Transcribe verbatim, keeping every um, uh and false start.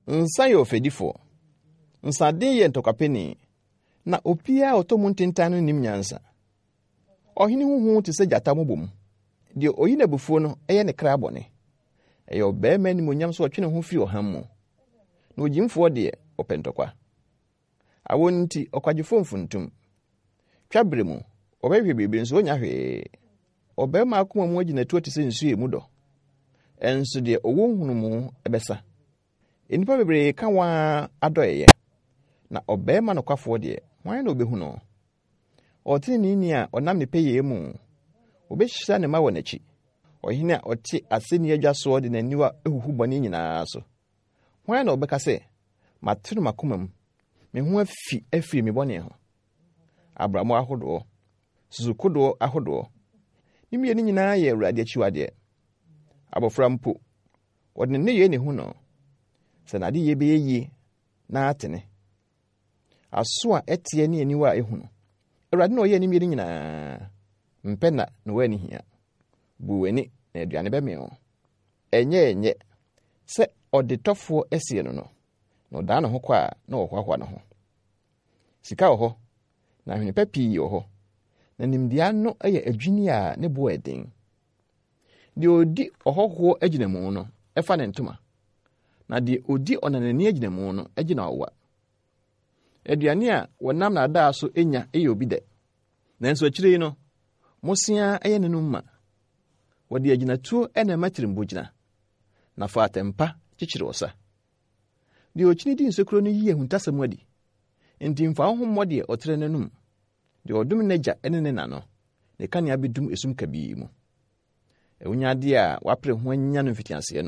Nsa yɛ ɔfɛdifoɔ. Nsaden yɛ ntɔkwapɛni, na obiara a ɔtɔ mu ntentan no nnim nyansa. Ɔhene ho hu te sɛ gyata mmobom. Deɛ oyi n'abufuo no yɛ ne kra bɔne. Ɛyɛ ɔbarima animuonyam sɛ ɔtwe ne ho firi ɔham mu, na ogyimfoɔ deɛ, ɔpɛ ntɔkwa. Awɔ nti, ɔkwadwofoɔ mfuntum. Twabere mu, ɔbɛhwehwɛ biribi nso onnya hwee. Ɔbarima akoma mu agyinatuo te sɛ nsuo a emu dɔ, ɛnso deɛ ɔwɔ nhunumu bɛsa. Nnipa bebree ka wɔn ara adɔeɛyɛ, na ɔbarima nokwafoɔ deɛ, hwan na obehu no? Ɔteneneeni a ɔnam ne pɛyɛ mu, obehyira ne mma wɔ n'akyi. Ɔhene a ɔte aseni adwa soɔ de n'aniwa huhu bɔne nyinaa so. Hwan na ɔbɛka sɛ, "Matene m'akoma mu, me ho afi afiri me bɔne ho"? Abrammo ahodoɔ, susukodoɔ ahodoɔ, ne mmienu nyinaa yɛ Awurade akyiwadeɛ. Abɔfra mpo, wɔde ne nneyɛe na ehu no, sɛ n'adeyɛ bɛyɛ yie na atene. Aso a ɛteɛ ne aniwa a ehu no, Awurade na ɔyɛɛ ne mmienu nyinaa. Mpɛ na na w'ani hia. Bu w'ani na aduane bɛmee wo. Ɛnyɛ ɛnyɛ sɛ ɔdetɔfoɔ asie no no, na ɔdaa ne ho kɔ a na ɔhoahoa ne ho. Sika wɔ hɔ, na ahwene pa pii wɔ hɔ, na nimdeɛ ano yɛ adwini a ne bo yɛ den. Deɛ odi ɔhɔhoɔ agyinamu no, ɛfa ne ntoma, na deɛ odi ɔnanani agyinamu no, gyina ɔwa. Aduane a wɔnam nnaadaa so nya yɛ obi dɛ, nanso akyire yi no, mmosea yɛ n'anom ma. Wɔde agyinatuo na ɛma tirimbɔ gyina, na fa atɛmpa kyekyere ɔsa. Deɛ okyini di nsekuro no yi ahuntasɛm adi, enti mfa wo ho mmɔ deɛ ɔtrɛ n'anom. Deɛ ɔdome n'agya ne ne na no, ne kanea bɛdum esum kabii mu. Awunyadeɛ a wapere ho anya no mfitiaseɛ no,